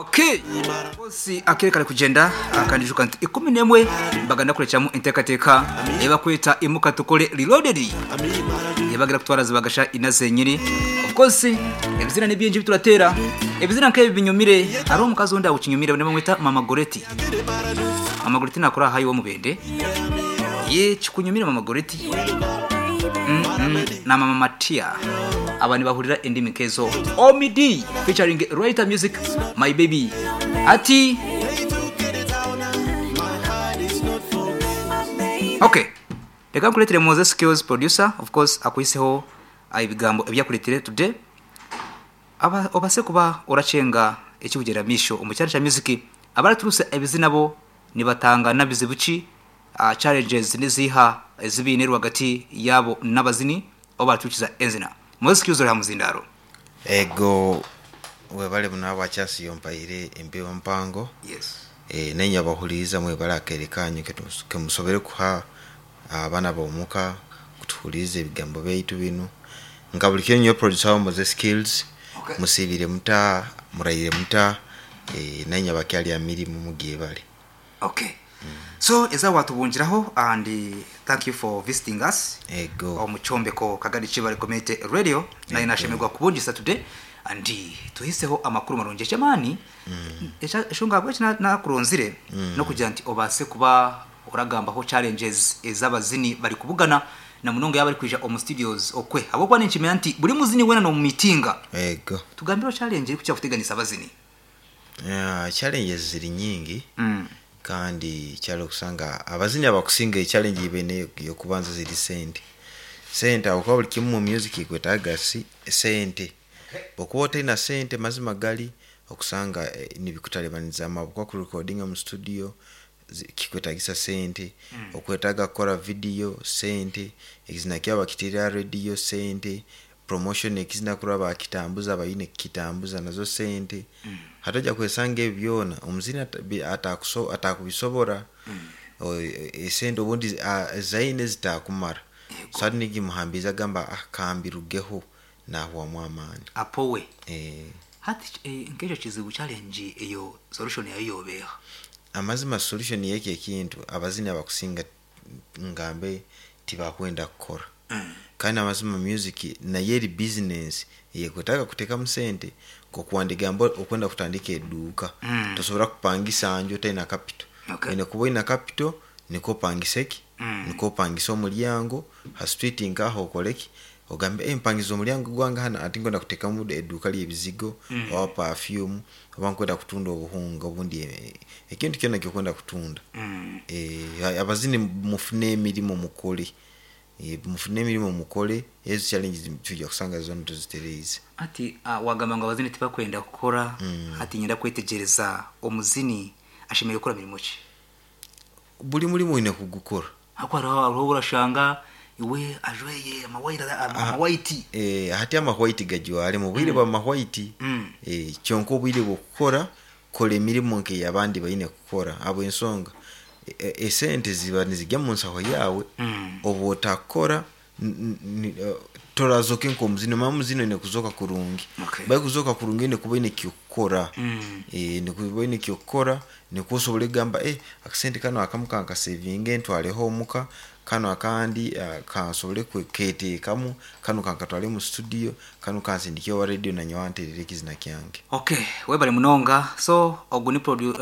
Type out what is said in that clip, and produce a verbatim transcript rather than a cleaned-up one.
Okay. Bosi akere kugenda akandijuka nti ikumi n'emwe baganda kurecamu enteekateeka ebakweta Imuka Tukore Reloaded, ebagira kutwara zibagasha ina zenyine. Of course ebizina ni byingi bituratera ebizina nk'ebi binyumire. Hari omukazi undi awukinyumire bamwita Mama Goreti. Mama Goreti nakora hayi wo mubende ye kikunyumire Mama Goreti mm -mm. na Mama Matia abantu bahurira endimi nkezo. Omid featuring Writer Music, My Baby ati okay. Reka nkuretere Moses Skills producer, of course akuiseho ibigambo ebyakuretere today aba obase kuba oracenga ekibugera misho omu cyaro cya music. Abaraturuse ebizina bo nibatanga nabizibuki uh, challenges niziha ezibine rwagati yabo n'abazini abo baratukiza enzina. Moses Skills uri hamuzindaro. Ego, webale muno abakyasiyo mpaire empewo mpango. Yes. E, nenya bahuliriza mwebale akere kanyu kemusobere kuha abaana bomuka kutuhuliriza ebigambo byaitu binu. Nka buli kiro nyo producer wa Moses Skills. Okay. Musibire muta murayire muta e, nenya bakyali amirimu mugiye bale. Okay. So eza watubungiraho and uh, thank you for visiting us. Ego. Omuchombeko Kagadi Chibale Community Radio naye nashemerwa kubungisa today and tuhiseho amakuru marungi echamani eshonga bwe nakuronzire no kugira nti obase kuba oragambaho challenges ez'abazini bari kubugana na munonga yabari kwija omu studios okwe abo kwa ninchimenya nti buri muzini wena no mitinga. Ego. Tugambiro challenge iri kucha kuteganisa abazini. Yeah, challenges ziri nyingi. Mm. Kandi kyalo kusanga abazini abakusinga challenge ibene yokubanza ziri sente. Sente aho buli kimu mu music kwetaga si sente. Bokuba otayina sente mazima gali okusanga eh, nibikutalibaniza amaboko ku recording mu studio kikwetagisa sente. Mm. Okwetaga kukora video sente, ekizina kyaba kitira radio sente, promotion ekizina kuraba akitambuza abayine kitambuza nazo sente. Mm. Hataja kwesanga ebyona omuzini atakuso atakubisobora. Mm. Esente obundi zaine zitakumara. Suddenly gimuhambiza gamba ah, kambirugeho nahwamu amaani apowe. Eh, hati eh, nk'ekyo kizibu challenge eyo solution yayo yobeha. Amazima solution yeki ekintu abazini abakusinga ngambe tibakwenda kukora. Mm. Kandi amazima music naye eri business yekwetaaga kuteekamu sente kokuwandiga mbo okwenda kutandika edduuka. Mm. Tosobola kupangisa nju otalina capital. Okay. Oyina kuba oyina capital niko opangisa eki Mm. niko opangisa omulyango ha street nkaho okoleki ogambe eh, mpangiza omulyango gwange hano ati nkwenda kuteekamu edduuka ly'ebizigo Mm. oba perfume oba nkwenda kutunda obuhunga obundi eh, ekintu kyonna kyokwenda kutunda. Mm. Eh, abazini mufune emirimu mukole. Eh, mufune emirimu mukole ezo challenges tujja kusanga zonna tuzitereeze. Ati uh, wagamba ngo abazini tibakwenda kukora. Mm. Ati nyenda kwetegereza omuzini ashemereire gukora mirimo ki? Buli mulimu oyina kugukora. Hako hariho urashanga iwe ajweye amawaira amawaiti. Eh, hati amahwaiti gajwale mu bwire bwa mahwaiti. Mm. Eh, kyonka obwire bw'okukora kola emirimu nk'eyabandi bayine kukora abo ensonga esente e, ziba nizijya mu nsaho yawe. Mm. Oba otakora torazoka nk'omuzini omanya omuzini oyine kuzoka kurungi. Okay. Bai kuzoka kurungi oyine kuba oyine kyokukora. Mm. Eh, nikuba oyine kyokukora nikwo osobole kugamba eh, akasente kano akamu kankasevinge ntwareho omuka kano akandi uh, kansobole keteekamu kano kankatware mu studio kano kansindike owa radio nanyowe anterere ekizina kyange. Okay, webale munonga. So ogu ni produ